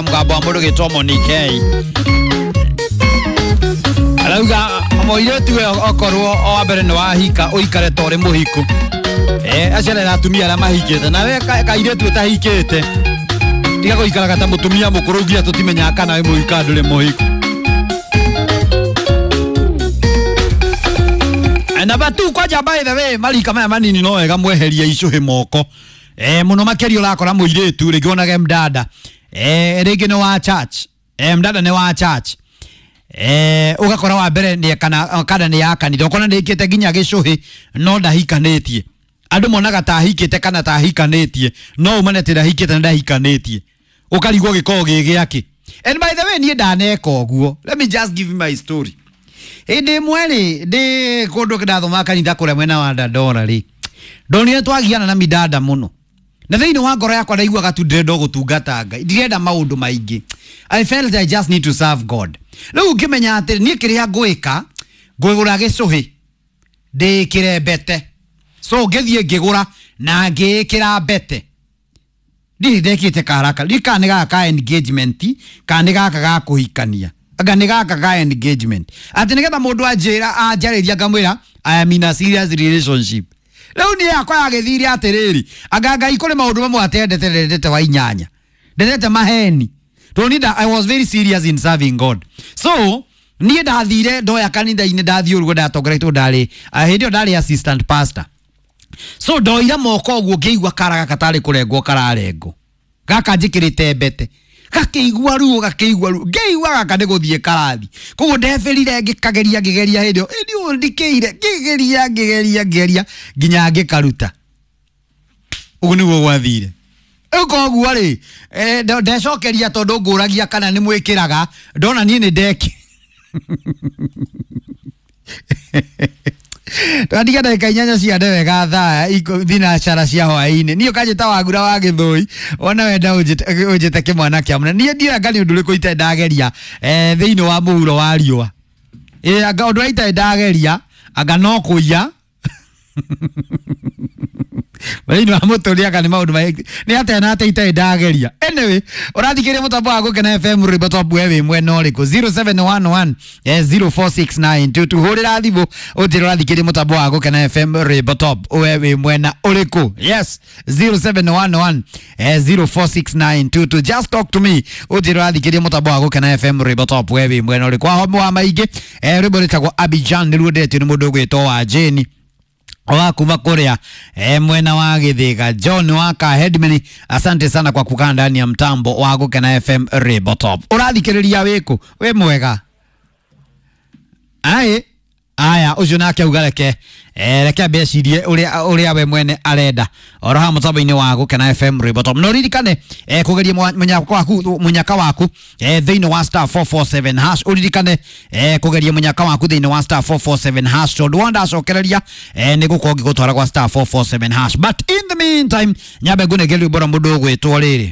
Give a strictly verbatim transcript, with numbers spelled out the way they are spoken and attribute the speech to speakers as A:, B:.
A: Mugambo wa mundu gitwo Monique arauga mũirĩtu we okorwo o wa mbere nĩ wahika ũikare ta ũrĩ mũhiku, eh acerera atumia arĩa mahikĩte nawe kairĩtu ũtahikĩte tiga gũikaraga ta mũtumia mũkũrũ nginya tũtimenyaga kana wĩ mũhiku kana ndũrĩ mũhiku. Na batu kwanja by the way marika maya manini no wega mweherie icũhĩ moko, eh mũno makĩria ũrakora mũirĩtu rĩngĩ onage mdada, eh rĩngĩ nĩ wa church, eh mdada nĩ wa church, eh ũgakora wa mbere nĩ kana kana nĩ ya kanitha ũkona nĩ nginya gĩcũhĩ no ndahikanĩtie. Andũ monaga ta ahikĩte kana ta ahikanĩtie no umane atĩ ndahikĩte na ndahikanĩtie ũkarigwo gĩkoragwo gĩ gĩake. And by the way niĩ ndaneka ũguo, let me just give you my story. Hĩndĩ ĩmwe rĩ ndĩ kũndũ ndathomaga kanitha kũrĩa mwena wa Dandora rĩ, ndonire twagiana na midada mũno na thĩinĩ wa ngoro yakwa ndaiguaga tu ndĩrenda gũtungata Ngai, ndirenda maũndũ maingĩ. I felt I just need to serve God. Rĩu ngĩmenya atĩ niĩ kĩrĩa ngwĩka ngwĩgũra gĩcũhĩ ndĩkĩre mbete, so ngĩthiĩ ngĩgũra na ngĩĩkĩra mbete. Ndirĩ ndekĩte karaka ndiũĩ kana nĩ gaka ka engagement kana nĩ gaka ga kũhikania, anga nĩ gaka ka engagement, atĩ nĩgetha mũndũ anjĩra anjarĩria ngamwĩra I am in a serious relationship. Rĩu niĩ yakwa yagĩthire atĩrĩrĩ, anga Ngai kũrĩ maũndũ mamwe atendete ndendete wa inyanya, ndendete maheni tondũ I was very serious in serving God. So niĩ ndathire ndoya kanitha-inĩ ndathiĩ ũguo ndatongoretwo ndarĩ hĩndĩ ĩyo ndarĩ assistant pastor, so ndoira moko ũguo ngĩigua kara gaka tarĩ kũrengwo kararengwo, gaka njĩkĩrĩte mbete, gakĩigua ruo gakĩigua ruo, ngĩigua gaka nĩ gũthiĩ karathi. Koguo ndebĩrire ngĩkageria ngĩgeria hĩndĩ ĩyo ĩndĩ ũyũ ndikĩire ngĩgeria ngĩgeria ngĩgeria nginya ngĩkaruta. Ũguo nĩguo gwathire. Rĩu koguo rĩ ndecokeria tondũ ngũragia kana nĩ mwĩkĩraga ndona niĩ nĩ ndeki twatiga ndagĩka inyanya cia wega thaa thinacara cia hwaĩ-inĩ. Niĩ ũkanjĩta Wagura wa Gĩthũi ona wenda ũnjĩte kĩmwana kĩa mũnene. Niĩ ndiũĩ anga nĩ ũndũ ũrĩkũ itarĩ ndageria thĩinĩ wa mũhuro wa riũa. Ĩ anga ũndũ ũrĩa itarĩ ndageria anga no kũiya thĩinĩ wa mũtũrĩre anga nĩ maũndũ maingĩ nĩ atĩa na atĩa itarĩ ndageria. Anyway ũrathikĩrĩria mũtambo wa Gũkena F M rwĩmbo top we wĩ mwena ũrĩkũ? zero seven one one zero four six nine two two. Hũrĩra thimũ ũnjĩre ũrathikĩrĩria mũtambo wa Gũkena F M rwĩmbo top we wĩ mwena ũrĩkũ? Yes, zero seven one one zero four six nine two two. Just talk to me ũnjĩre ũrathikĩrĩria mũtambo wa Gũkena F M rwĩmbo top we wĩ mwena ũrĩkũ? Wahomu wa maingĩ rwĩmbo rwĩtagwo Abidjan nĩruo ndetio nĩ mũndũ ũgwĩtwo wa Jane wa kuma kuria e, mwena wa Githĩga. John waka Headman, asante sana kwa kukaa ndani ya mtambo wa Gũkena F M Rwĩmbo Top. Ũrathikĩrĩria wĩkũ? Wĩ mwega? Ai aya ũcio nake auga reke eh, reke ambecirie ũrĩa ũrĩa we mwene arenda oro ha mũtambo-inĩ wa Gũkena F M Rwĩmbo Top. No ririkane eh, kũgeria mũnyaka waku mũnyaka waku eh, thĩinĩ wa star four four seven hash. Ũririkane eh, kũgeria mũnyaka waku thĩinĩ wa star four four seven hash tondũ wanda acokereria eh, nĩ gũkorwo ngĩgũtwara gwa star four four seven hash. But in the meantime nyambe ngũnengere rwĩmbo rwa mũndũ ũgwĩtwo rĩrĩ.